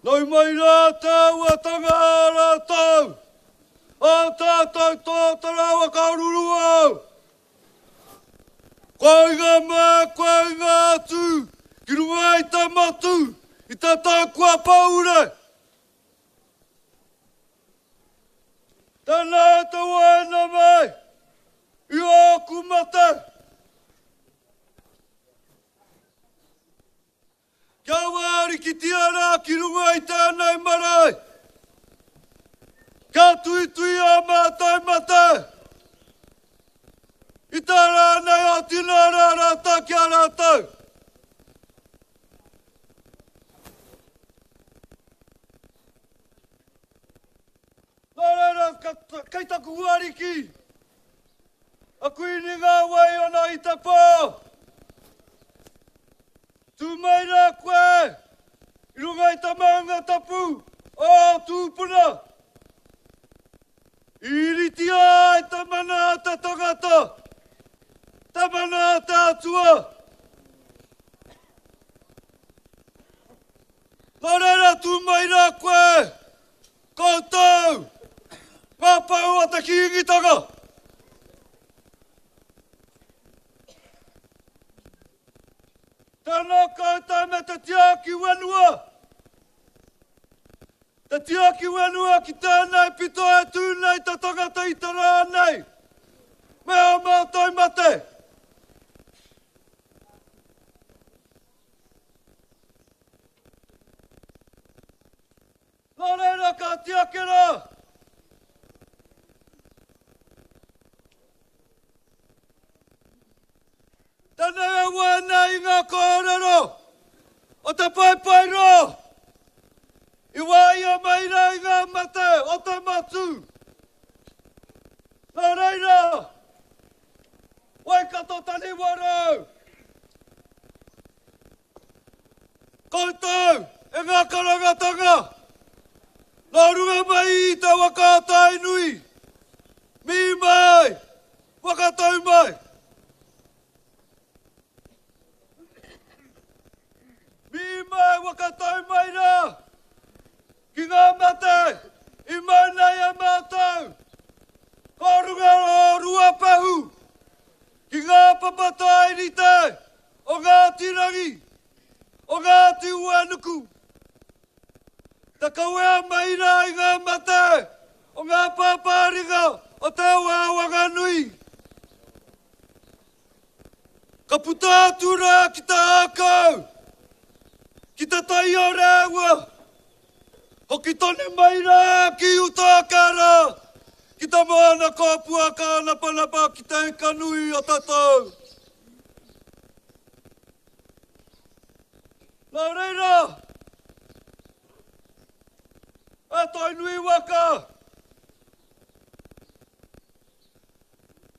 Nau mai rā tāuatanga a rātou, ā tātou tōtara waka ruruau. Kua inga mā, kua inga atu ki runga i te matū, i te tau kua pahure. Tēnā te waina mai i ōku mate. Kia wārikitia rā ki runga i tēnei marae. Kia tuitui ā mātou mate. I tā rānei o tino rā rātou ki a rātou. Nō reira, kei taku huariki, a Kuini ngā wai ona i te pō. Tū mai rā koe i runga i te maunga tapu o ō tūpuna. I iritia ai te mana a te tangata, te mana a te Atua. Nō reira tū mai rā koe, koutou, ngā pou o te Kīngitanga. Tēnā koutou me te tiaki whenua. Te tiaki whenua ki tēnei pito e tū nei te tangata i te rā nei. Me ō mātou mate. Nō reira ka tiaki rā. Tēnei e wā nei i ngā kōrero o te paepaeroa i wāia mai rā i ngā mate o te matū. Nō reira, Waikato Taniwarau, Koutou e ngā karangatanga, nō runga mai i te waka a Tainui, mihi mai, whakatau mai. Mihi mai, whakatau mai rā ki ngā mate i mau nei a mātou. Ko runga o Ruapehu ki ngā papa tairite o Ngāti Rangi, o Ngāti Uenuku. Te kawea mai rā i ngā mate o ngā pāpāringa o Te Awa Wanganui. Ka puta atu rā ki te ākau, ki te tai o Rēua, hoki tonu mai rā ki uta ake rā, ki te moana kōpua kānapanapa ki te ika nui o te tau. Nā reira, e Tainui waka,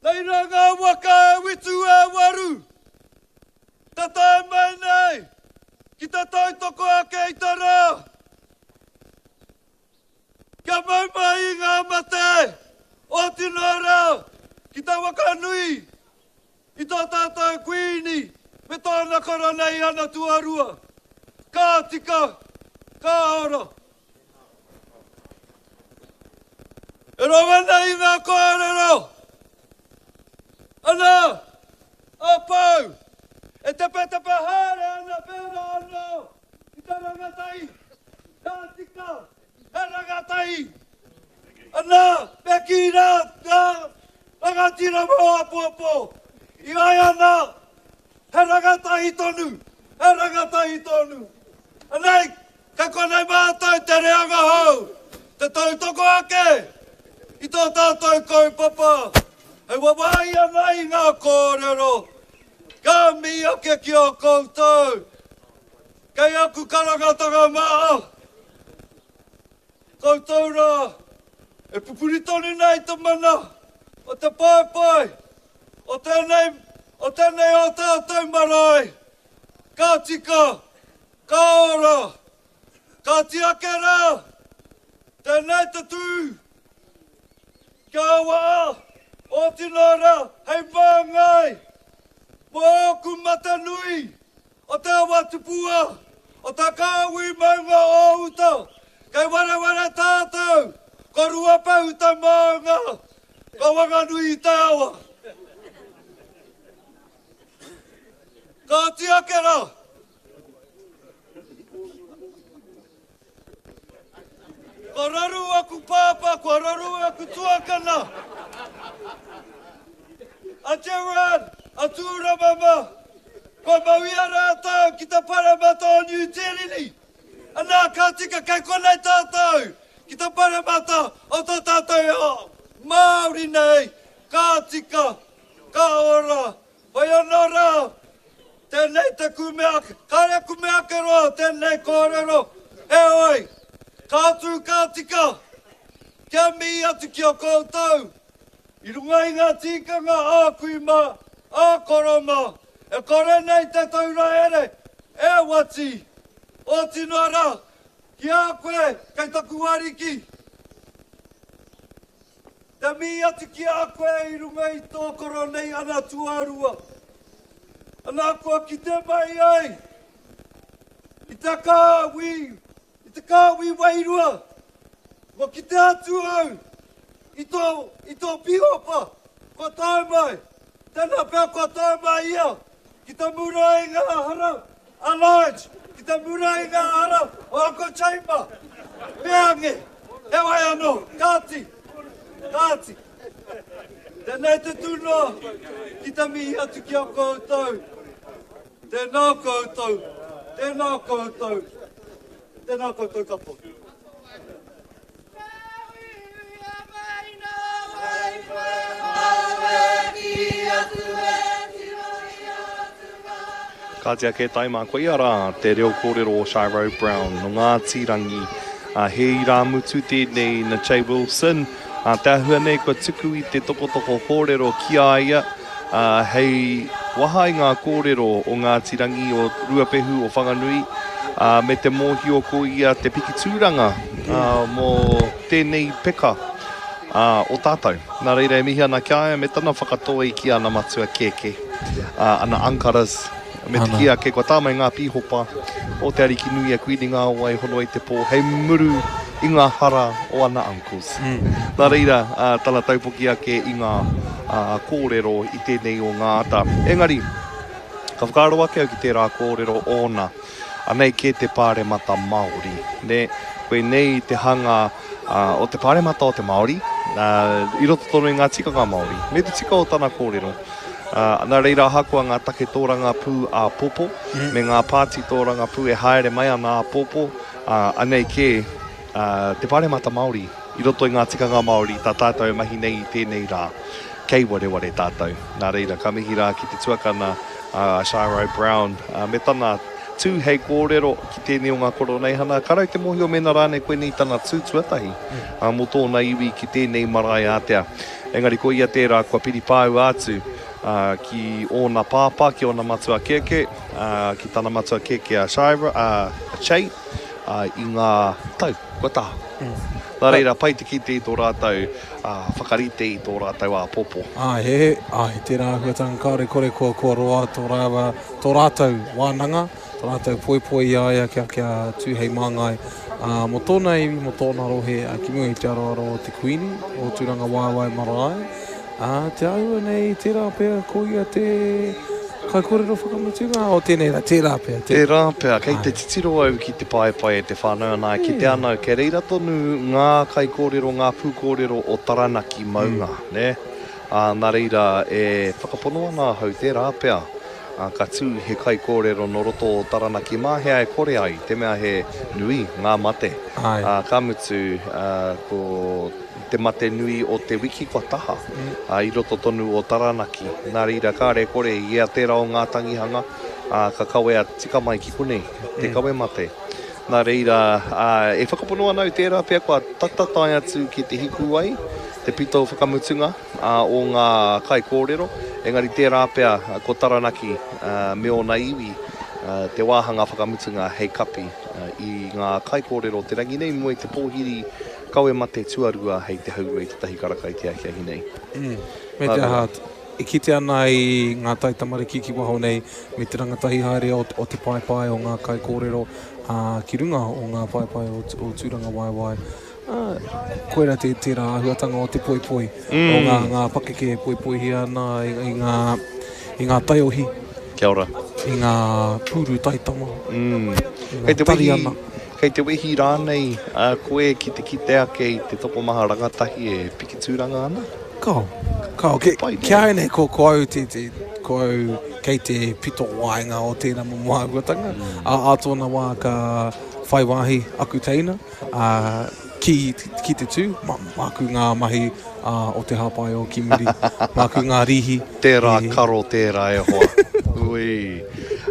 Reira ngā waka e witu e waru, te tae mai nei ki te tautoko ake i te rā. Kia mau mai i ngā mate o tino rā ki te waka nui i tō tātou Kuini me tōna korona i ana tuarua. Ka tika, ka ora. E rongo ana i ngā kōrero. Ana, a Pou, e tepetepe haere ana pērā anō i te rangatahi. Ka tika, he rangatahi. Ana, me kī rā ngā rangatira mō āpōpō. I ai ana, he rangatahi tonu, he rangatahi tonu. Anei, Kei konei mātou te reanga hou, te tautoko ake i tō tātou kaupapa hei wawāhi ana i ngā kōrero ka mihi ake ki a koutou. Kei aku karangatanga maha, koutou rā e pupuri tonu nei te mana o te paepae o tēnei, o tēnei o tātou marae. Ka tika, Ka ora! Ka tiake rā! Tēnei te tū! Kia aua ō tino rā hei māngai mō ōku mate nui o te awa tupua. o ta kāhui maunga o uta, kei wareware tātou, ko Ruapehu te maunga, ko Wanganui te awa. Kāti ake rā. Kua raru aku pāpā, kua raru aku tuakana. A Gerard, a Tūramama, kua mau i a rātou ki te Paremata o Niu Tīreni. Anā, ka tika kei konei tātou ki te Paremata o tō tātou ao Māori nei, ka tika, ka ora, Whai anō rā, tēnei te kume ake, kāre kume ake roa tēnei kōrero, heoi, ka tū ka tika, kia mihi atu ki a koutou, i runga i ngā tīkanga ā kui mā, ā koro mā, e kore nei te taura here e wati, oti noa rā, ki a koe kei taku ariki. Te mihi atu ki a koe i runga i tō koroneihana tuarua. Ana kua kite mai ai i te kāhui, i te kāhui wairua, kua kite atu au i tō, i tō pīhopa kua tae mai, tēnā pea kua tae mai ia ki te mura i ngā hara a Lodge, ki te mura i ngā hara o Uncle Chamber. Peange, heoi anō, kāti, kāti. Tēnei te tūnoa ki te mihi atu ki a koutou. Tēnā koutou, tēnā koutou, tēnā koutou katoa. Kāti ake taima, koia rā te reo kōrero o Shiro Brown no Ngāti Rangi. He irāmutu tēnei na Che Wilson. Te āhua nei kua tuku i te tokotoko kōrero ki a ia hei waha i ngā kōrero o Ngāti Rangi, o Ruapehu, o Whanganui, me te mōhio ko ia te piki tūranga mō tēnei peka o tātou. Nā reira e mihi ana ki a ia me tana whakatoi ki ana matua kēkē, ana ankaras, me te kī ake kua tā mai ngā pīhopa o Te Arikinui a Kuini Ngāwai Hono i te Pō hei muru i ngā hara o ana uncles. Nā reira tana taupoki ake i ngā kōrero i tēnei o ngā ata. Engari, ka whakaaro ake au ki tērā kōrero ōna, anei kē te pāremata Māori, nē? Koinei te hanga o te pāremata o te Māori, i roto tonu i ngā tikanga Māori, me te tika o tana kōrero. Nā reira ahakoa ngā take tōrangapū āpōpō, me ngā pāti tōrangapū e haere mai ana āpōpō, anei kē te Pāremata Māori i roto i ngā tikanga Māori tā tātou e mahi nei i tēnei rā. Kei wareware tātou. Nā reira, ka mihi rā ki te tuakana a Shiro Brown me tana tū hei kōrero ki tēnei o ngā koroneihana. Ka rau te mōhio mēnā rānei koinei tana tū tuatahi mō tōna iwi ki tēnei marae ātea. Engari ko ia tērā kua piripāua atu ki ōna pāpā, ki ōna matua kēkē, ki tana matua kēkē a Shira, a Che, i ngā tau kua taha. Nā reira, pai te kite i tō rātou whakarite i tō rātou āpōpō. Āe, he, āe, tērā āhuatanga kāore kore kua, kua roa tō rāua, tō rātou wānanga, tō rātou poipoi i a ia kia, kia tū hei māngai mō tōna iwi, mō tōna rohe ki mua i te aroaro o te Kuini, o Tūrangawaewae marae. Ā, te āhua nei, tērā pea ko ia te kaikōrero whakamutunga o tēnei rā, tērā pea. Te... Tērā pea, kei te titiro au ki te paepae e te whānau ana, e kite ana au, kei reira tonu ngā kaikōrero, ngā pūkōrero o Taranaki maunga, nē? Ā, nā reira, e whakapono ana ahau, tērā pea, ā, ka tū he kaikōrero nō roto o Taranaki mā hea e kore ai, te mea he nui ngā mate. Āe. Ā, ka mutu, ā, ko te mate nui o te wiki kua taha, ā, i roto tonu o Taranaki. Nā reira, kāre e kore i ea tērā o ngā tangihanga, ā, ka kawea tika mai ki konei, te kawe mate. Nā reira, ā, e whakapono ana au tērā pea kua tata tae atu ki te hikuwai, te pito whakamutunga, o ngā kaikōrero, engari tērā pea ko Taranaki me ōna iwi te wāhanga whakamutunga hei kapi i ngā kaikōrero o te rangi nei mua i te pōhiri kawe mate tuarua hei te haurua i te tahi karaka i te ahiahi nei. Me te aha, e kite ana i ngā taitamariki ki waho nei me te rangatahi haere o te paepae o ngā kaikōrero. ā, ki runga o ngā paepae o, o Tūrangawaewae. Ā, koirā te, tērā āhuatanga o te poipoi, mm. o ngā, ngā pakeke e poipoihia ana i, i, ngā, i ngā taiohi. Kia ora. I ngā pūru taitama. Mm. I ngā tariana. Kei te wehi rānei uh, koe ki te kite ake i te tokomaha rangatahi e piki tūranga ana? Kao, kao. Ki, ki a au nei, ko, ko au te, te, ko au kei te pito waenga o tēnā momo āhuatanga. Mm. A, a tōna wā ka whai wāhi aku teina a, ki, ki te tū, ma, māku ngā mahi a, o te hāpai o ki muri, māku ngā rīhi. Tērā e... karo tērā e hoa. Ui.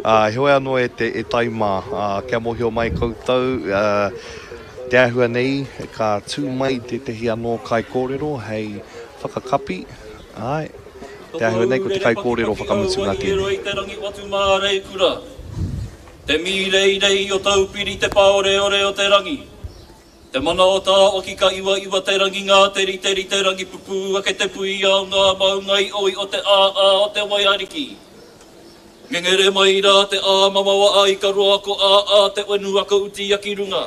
Uh, heoi anō e te e tai mā, uh, kia mōhio mai koutou, uh, Te āhua nei, ka tū mai tētehi anō kaikōrero hei whakakapi, āe, te āhua nei ko te kaikōrero whakamutunga tēnei. I te rangi watu māreikura, te mīreirei o Taupiri te pāoreore o te rangi, te mana o Tāwaki ka iwaiwa te rangi ngā te riterite rangi pupū ake te puia o ngā maunga i oi o te ā-ā o te waiariki. Ngengere mai rā te ā-mamawa a Ikaroa ko ā-ā te whenua ka utia ki runga.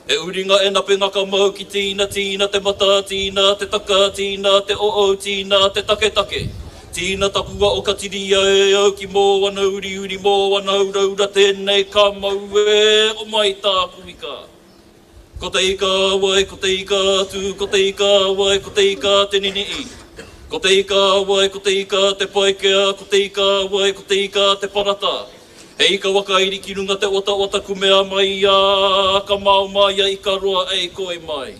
He uringa e nape ngaka mau ki tīna tīna te matā tīna te taka tīna te oo tīna te taketake tīna takua o ka tiria e au ki mōana uriuri mōana uraura tēnei ka mau e o mai tāku ika. Ko te ika a wai, ko te ika a Tū, ko te ika a wai, ko te ika a Te Nini'i. Ko te ika a wai, ko te ika a Te Paikea, ko te ika a wai, ko te ika a Te Parata. He ika wakairi ki runga te otaota kumea mai a ka mao mai a Ikaroa ei koi mai.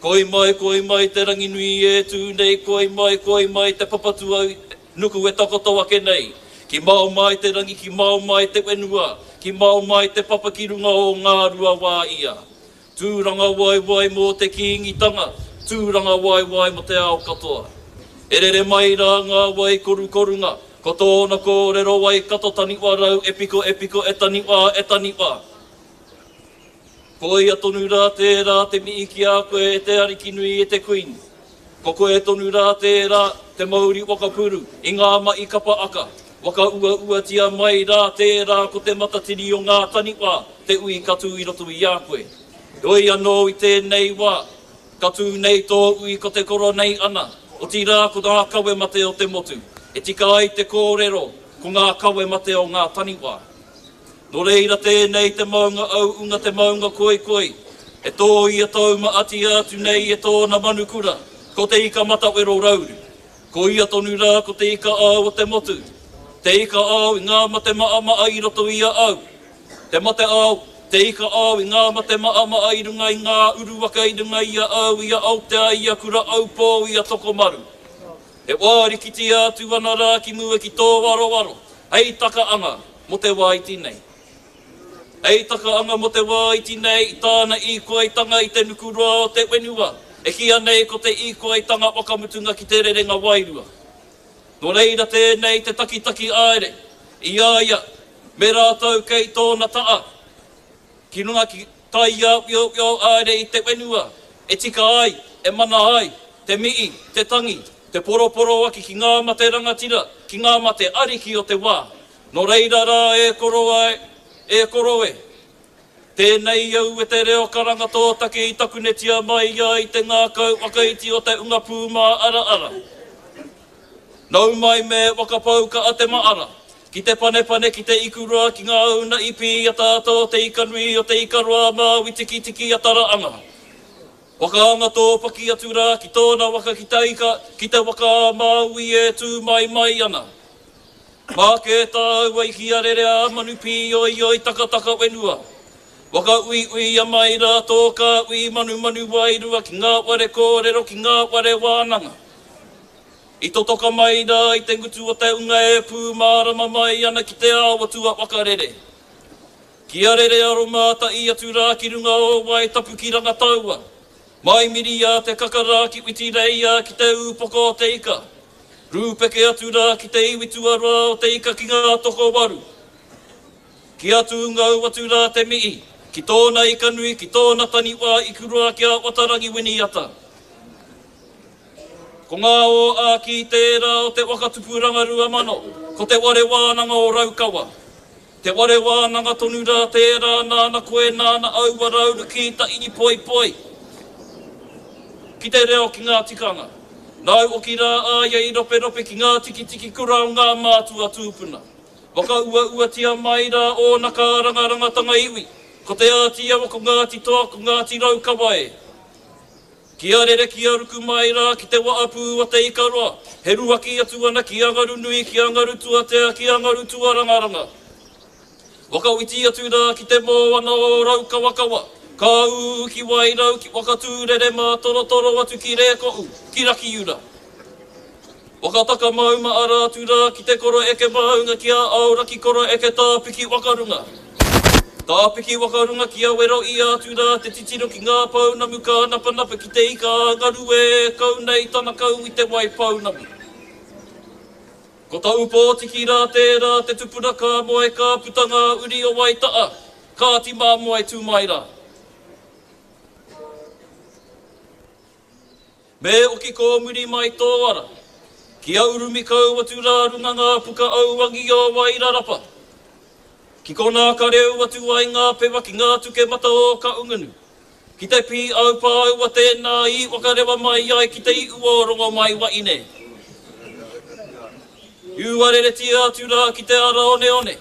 Koi mai, koi mai te Ranginui e tū nei, koi mai, koi mai te Papatuau nuku e takoto ake nei. Ki mao mai te rangi, ki mao mai te whenua, ki mao mai te papa ki runga o Ngāruawāia. Tūrangawaewae mō te Kīngitanga, tūrangawaewae mō te ao katoa. E rere mai rā ngā wai korukorunga, ko tōna kōrero Waikato taniwha rau e piko e piko e taniwha e taniwha. Koia tonu rā tērā te mihi ki a koe e te Ariki nui e te Kuini. Ko koe tonu rā tērā te mauri waka puru i ngā mahi kapa aka, waka uauatia mai rā tērā ko te matatini o ngā taniwha te ui ka tū i roto i a koe. Heoi anō i tēnei wā, ka tū nei tō ui ko te koro nei ana, otirā ko ngā kawe mate o te motu, e tika ai te kōrero ko ngā kawe mate o ngā taniwha. Nō reira tēnei te maunga auunga te maunga koikoi, e tōia taumaatia atu nei e tōna manukura, ko te ika matawero rauru. Ko ia tonu rā ko te ika ao o te motu, te ika ao i ngā mate maama'a i roto i a au, te mate ao, te ika ao i ngā mate maama'a i runga i ngā uruwaka i runga i a au, i a Aotea, i a Kura Aupō, i a Tokomaru. E wārikitia atu ana rā ki mua ki tō aroaro, hei takaanga mō te wā iti nei. Hei takaanga mō te wā iti nei i tāna īkoaitanga i te nukuroa o te whenua, e kīia nei ko te īkoaitanga whakamutunga ki te rerenga wairua. Nō reira tēnei te takitaki aere i a ia me rātou kei tōna ta'a. Ki runga ki taiāwhiowhio haere i te whenua, e tika ai, e mana ai, te mihi, te tangi, te poroporoaki ki ngā mate rangatira, ki ngā mate ariki o te wā. Nō reira rā e koro e, e koro e. Tēnei au e te reo karanga tō take i takunetia mai ai te ngākau whakaiti o te unga pūmāaraara. Nau mai me whakapau ka a te maara, ki te panepane, ki te ikuroa, ki ngā una i pī ataata o te ika nui, o te ika roa a Māui tikitiki a Taraanga. Whakaanga tōpaki atu rā ki tōna waka ki te ika, ki te waka a Māui e tū mai mai ana. Mā kē tāua i ki a rere a manu pīoioi takataka whenua. Whakauiuia mai rā tō kāhui manumanu wairua ki ngā whare kōrero, ki ngā whare wānanga. I totoka mai rā i te ngutu o te unga e pūmārama mai ana ki te ao atua whakarere. Kia rere aro mātaʻi atu rā ki runga o Waetapu ki Rangataua. Mai miria te kaka rā ki Whitireia ki te ūpoko o te ika. Rūpeke atu rā ki te iwi tuarua o te ika ki ngā tokowaru. Kia tūngou atu rā te mihi ki tōna ika nui ki tōna taniwha ikuroa ki a Watarangi Winiata. Ko ngā ō-āki tērā o te waka tupuranga 2000, ko Te Ware Wānanga o Raukawa. Te ware wānanga tonu rā tērā nāna koe nāna aua rauru ki ta i poipoi ki te reo ki ngā tikanga. Nāu oki rā a ia i roperope ki ngā tikitiki kura o ngā mātua tūpuna. Whakauauatia mai rā ōna kārangarangatanga iwi, ko Te Āti Awa, ko Ngāti Toa, ko Ngāti Raukawa e. Kia rere kia ruku mai rā ki te waapū a Te Ikaroa, he ruaki atu ana ki a Ngarunui, ki a Ngarutuatea, ki a Ngarutuarangaranga. Whakawhiti atu rā ki te moana o Raukawakawa, ka ū ki Wairau, ki Whakatūrere mātorotoro atu ki Rēkohu, ki Rakiura. Whakataka mauma ara atu rā ki te koro eke maunga ki a Aoraki koro eke tāpiki waka runga. Tāpiki waka runga ki a wero ia atu rā te titiro ki ngā pounamu kānapanapa ki te ika a ngaru e kau nei tana kau i te wai pounamu. Ko Taupōtiki rā tērā te tupuna ka moe ka puta ngā uri o Waita'a, Kāti Māmoe tū mai rā. Me oki kōmuri mai tō ara. Kia urumi kau atu rā runga ngā puka auangi o Wairarapa. Ki konā ka reu atu ai ngā pewa ki ngā tuke mata o Kaungunu. Ki te pīau pāua tēnā i whakarewa mai ai ki te iu o Rongomaiwaine. Uareretia atu rā ki te ara oneone,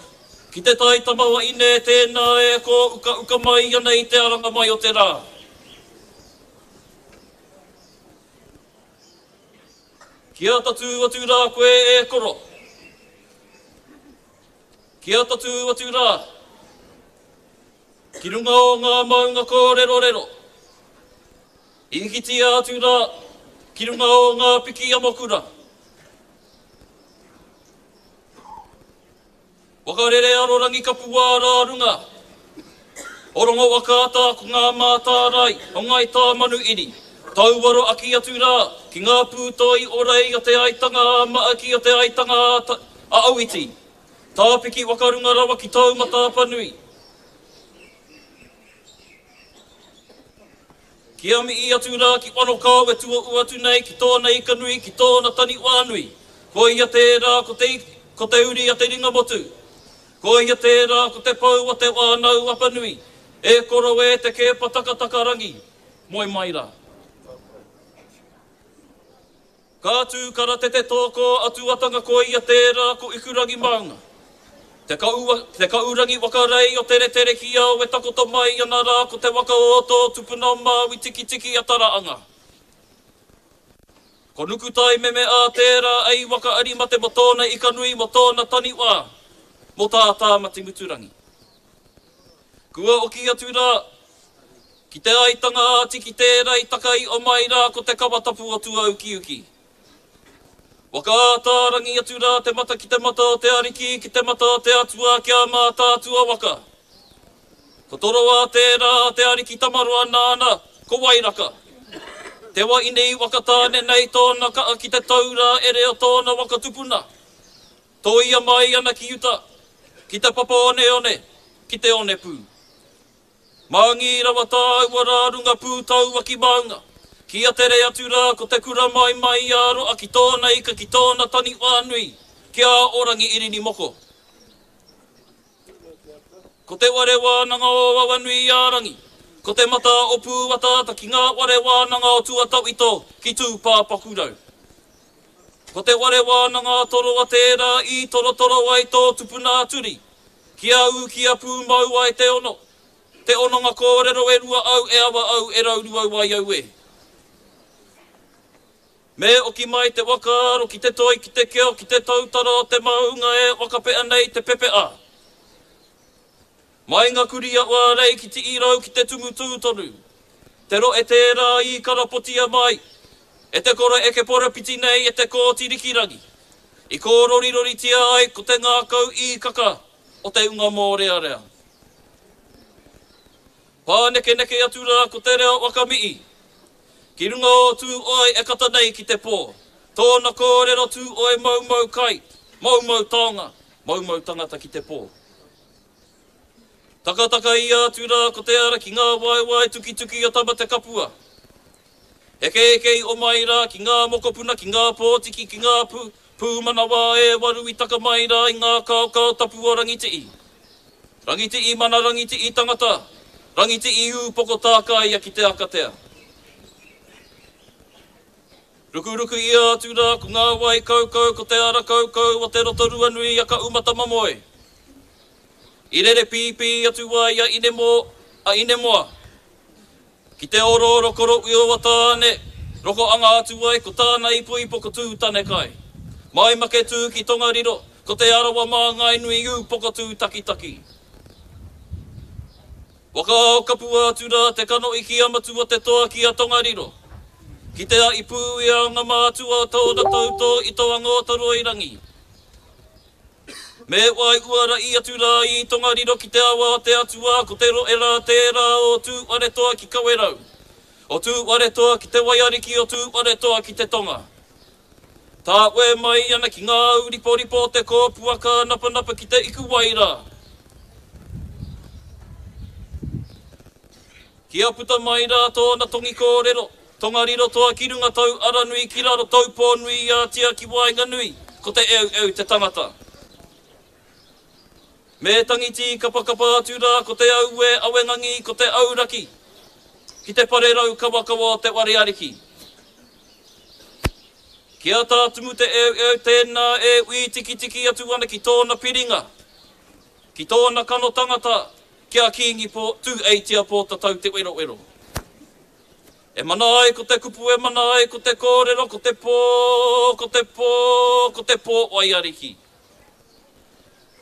ki te tai tamawaine tēnā e kōukauka mai ana i te aranga mai o te rā. Kia tatū atu rā koe e koro. Kia tatū atu rā. Ki runga o ngā maunga kōrerorero. Hikitia atu rā ki runga o ngā piki amokura. Whakarere arorangi kapua rā runga o Rongowhakaata ko ngā mātārae o Ngāi Tāmanuiri, tauaro aki atu rā ki ngā pūtoi o Rei o Te Aitanga a Maaki o Te Aitanga a Auiti, tāpiki whakarunga rawa ki Taumataapanui. Kia mihi atu rā ki Wanokao e tuohu atu nei ki tōna ika nui, ki tōna taniwha nui. Ko ia tērā ko te, ko te uri a te ringamotu. Ko ia tērā ko te pou o te whānau Apanui. E koro e te kēpa takatakarangi, moe mai rā. Ka tū karatete tōkō atuatanga ko ia tērā ko Ikurangi maunga. Te kaua, te kaurangi waka rei o Teretere ki au e takoto mai ana rā ko te waka o tō tupuna o Māui Tikitiki a Taraanga. Ko Nukutai meme ā tērā ei waka ari mate mo tōna ika nui mo tōna taniwha mo tā Tāmati Muturangi. Kua oki atu rā ki te aitanga a Tiki tērā i taka i omai rā ko te kawa tapu o Tuaukiuki. Whakaātārangi atu rā te mata ki te mata o te Ariki, ki te mata o te Atua, kia Mātaatua waka. Ko Toroa tērā a te Ariki Tamaroa nāna, ko Wairaka. Te waine i Whakatāne nei tōna kaa ki te taura ere o tōna waka tupuna. Tōia mai ana ki uta, ki te papa oneone, ki te onepū. Māngi rawa tāua rā runga pūtaua ki maunga. Kia tere atu rā ko te kura mai mai i a Roa ki tōna ika ki tōna taniwha nui, ki a Orangi Irini Moko. Ko te ware wānanga o Awanuiārangi, ko te mata o Pūataata ki ngā ware wānanga o Tuatawhito ki Tūpāpakurau. Ko te ware wānanga a Toroa tērā i torotoro ai tō tupuna a Turi, kia ū kia pūmau ai te ono, te ononga kōrero e rua au, e awa au, e rauruau ai au e. Me oki mai te whakaaro ki te toi, ki te keo, ki te tautara o te maunga e whakapea nei te pepea. Mai nga kuri a Wārei ki Tiirau ki te tumu tū tonu. Te roe tērā i karapotia mai e te kore eke porapiti nei e te Kooti Rikirangi. I kōroriroritia ai ko te ngākau īkaka o te unga mōrearea. Pānekeneke atu rā ko te reo whakamii ki runga o Tūoe e kata nei ki te pō. Tōna kōrero Tūoe moumou kai, moumou taonga, moumou tangata ki te pō. Takataka ia atu rā ko te ara ki ngā waewae tukituki o Tamatekapua. Hekeeke i omai rā ki ngā mokopuna, ki ngā pōtiki, ki ngā pū, pūmanawa e waru i taka mai rā i ngā kaokao tapu o Rangitii. Rangitii mana Rangitii tangata, Rangitii ūpoko tākaia ki te akatea. Rukuruku ia atu rā ko ngā wai kaukau ko te ara kaukau o te Rotorua nui a Kaumata-mamoe. I rere pīpī atu ai a Inemō, a Inemoa. Ki te orooro koroui o Tāne, roko anga atu ai ko tāna ipoipo ko Tūtanekai. Mai Maketū ki Tongariro, ko Te Arawa māngai nui ūpoko tūtakitaki. Waka ao kapua atu rā te kanohi ki a Matua te toa ki a Tongariro. Ki te a i pū i a nga mātua o tōna tautō i to Angōtoroirangi. Me wai uara i atu rā i Tongariro ki te awa o te Atua, ko te rohe rā tērā o Tūwharetoa ki Kawerau, o Tūwharetoa ki te Waiariki, o Tūwharetoa ki te Tonga. Tāwē mai ana ki ngā ūriporipo o te kōpua kānapanapa ki te ikuwai rā. Kia puta mai rā tōna tongi kōrero, Tongariro toa ki runga tau aranui ki raro taupō nui ātia ki waenganui, ko te eueu te tangata. Me tangi tīkapakapa atu rā ko te auē awengangi ko te auraki ki te pare raukawakawa o te ware ariki. Kia tātumu te eueu tēnā e wītikitiki atu ana ki tōna piringa, ki tōna kano tangata, ki a Kīngi Pō, Tū-eitia Pōtatau Te Werowero. E mana ai ko te kupu e mana ai ko te kōrero ko te pō, ko te pō, ko te pō waiariki.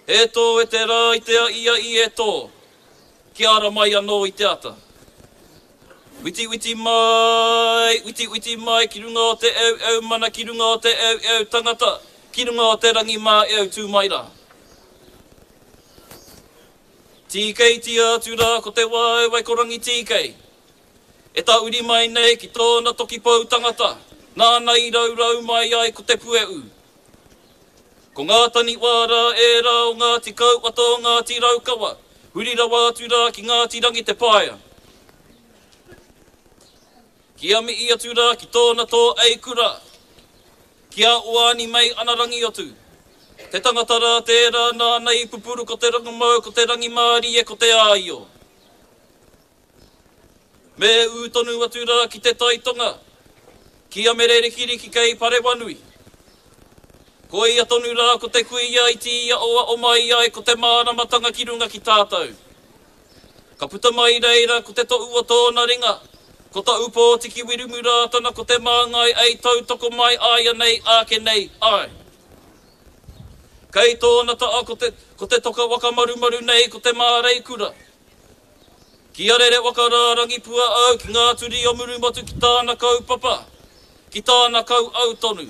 E tō e te rā i te aʻiaʻi e tō, kia ara mai anō i te ata. Witiwiti mai, witiwiti mai ki runga o te eueu mana ki runga o te eueu tangata, ki runga o te rangi māeu tū mai rā. Tīkeitia atu rā ko te waewae ko Rangitīkei. E tahuri mai nei ki tōna toki pou tangata, nāna i raurau mai ai ko te puehu. Ko ngā taniwha rā ērā o Ngāti Kauwhata o Ngāti Raukawa, huri rawa atu rā ki Ngāti Rangi Te Paea. Kia mihi atu rā ki tōna tō eikura, ki a Oani Mei Ana Rangiotu, te tangata rā tērā nāna i pupuru ko te rongomau, ko te rangimārie, ko te āio. Me ū tonu atu rā ki te tai tonga, ki a Mere Rikiriki kei Parewanui. Koia tonu rā ko te kuia i tīaoao mai ai ko te māramatanga ki runga ki tātou. Ka puta mai reira ko te tohu o tōna ringa, ko ta Ūpōtiki Wiremu Rātana ko te māngai ei tautoko mai āianei āke nei, āe. Kei tōna taa ko te, ko te toka waka marumaru nei ko te māreikura. Kia rere waka rārangi pua au ki ngā turi o Murumotu ki tāna kaupapa, ki tāna kauau tonu.